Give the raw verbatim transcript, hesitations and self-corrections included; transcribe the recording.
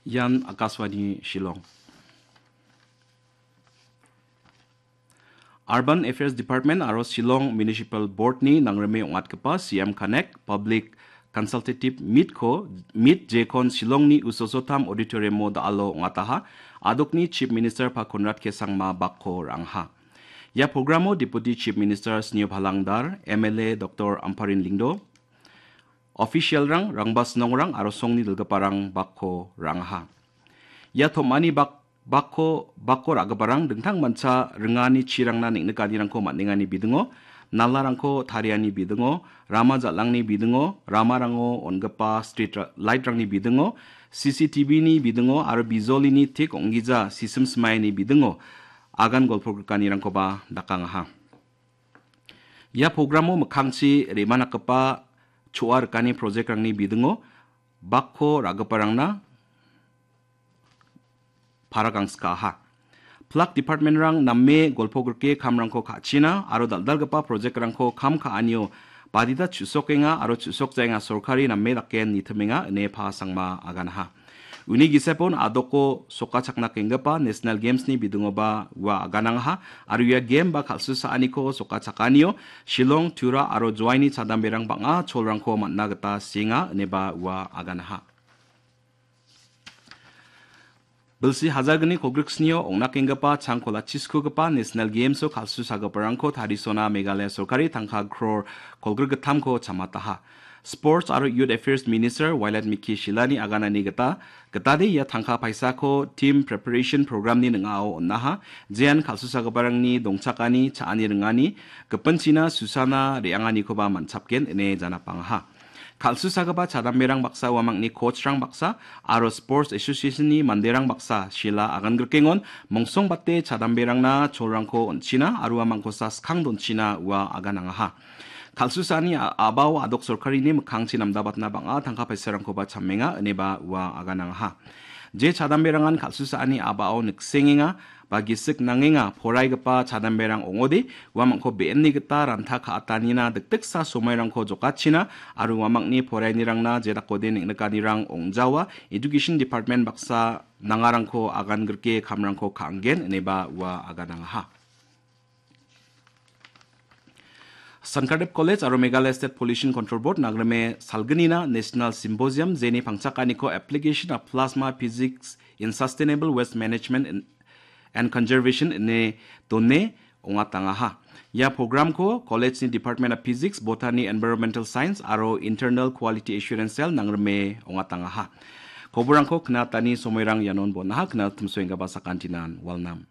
Ian Akashvani Shillong. Urban Affairs Department aro Shillong Municipal Board-ni nangrime ong·atgipa C M Connect Public Consultative Meet-ko, Meet jekon Shillongni Usosotam Auditorium-o da·alo ong·ataha. Adokni Chief Minister pa Conrad K Sangma bakko ra·aha. Ia programo Deputy Chief Minister Sneo Phalangdar, M L A Doktor Amparin Lyngdoh, official-rang, rangbasnongrang aro songni dilgiparang bakko ra·aha. Ia tom·ani bak-, bakko, bakko ra·giparang dingtang mancha ringani chirangna neng·nikanirangko man·engani bidingo, nalarangko tariani bidingo, rama jal·angni bidingo, ramarango on·gipa street ra-, light-rangni bidingo, C C T V-ni bidingo aro bijolini tik ong·gija sisim simaini bidingo agan golpo grikanirangkoba dakangaha. Ia programo mikkangchi re·manakgipa choa rikani project-rangni bidingo bakko ra·giparangna para gangskaha. Plak department-rang name golpo grike kamrangko ka·china aro dal·dalgipa project-rangko kam ka·anio badita chu·sokenga aro chu·sokjaenga sorkari name dake nitimenga ine Pa Sangma aganaha. Uni gisepon adoko sokachakna kenggipa National Games-ni bidingoba ua aganangaha aro ia game ba kal·susaaniko sokachakanio Shillong, Tura aro Joaini chadamberang bang·a cholrangko man·na gita sienga ineba ua aganaha. Bilsi hajalgni kolgriksnio ong·nakenggipa changkola chiskugipa National Games-o kal·susagiparangko tarisona Meghalaya sorkari tangka kror kolgrik gittamko chamataha. Sports aro Youth Affairs Minister Wailadmiki Shyllani aganani gita, gitade ia tangka paisako Team Preparation Program-ni ning·ao on·aha, jean kal·susagiparangni dongchakani, cha·ani ringani, gipinchina susana re·anganikoba man·chapgen ine janapangaha. Kal·susagipa chadamberang baksa uamangni coach-rang baksa aro Sports Association-ni manderang baksa Shylla agan grikengon mongsongbate chadamberangna cholrangko on·china aro uamangkosa skang donchina ua aganangaha. Kal·susaani a-, a·bao adok sorkarini mikkangchi namdabatna bang·a tangka paisarangkoba chamenga ineba ua aganangaha. Je chadamberangan kal·susaani a·bao niksengenga ba gisik nangenga poraigipa chadamberang ong·ode, uamangko be·enni gita ranta ka·atanina dikdiksa somoirangko jokachina aro uamangni porainirangna jedakode neng·nikanirang ong·jawa, Education Department baksa nangarangko agan grike kamrangko ka·anggen ineba ua aganangaha. Sankardev College aro Meghalaya State Pollution Control Board nangrime salgnina National Symposium jeni pangchakaniko Application of Plasma Physics in Sustainable Waste Management in, and Conservation ine done ong·atangaha. Ia programko college-ni Department of Physics, Botany, Environmental Science aro Internal Quality Assurance Cell nangrime ong·atangaha. Koborangko knatani somoirang ianon bon·aha, knatna timsoenggaba sakantinan walnam.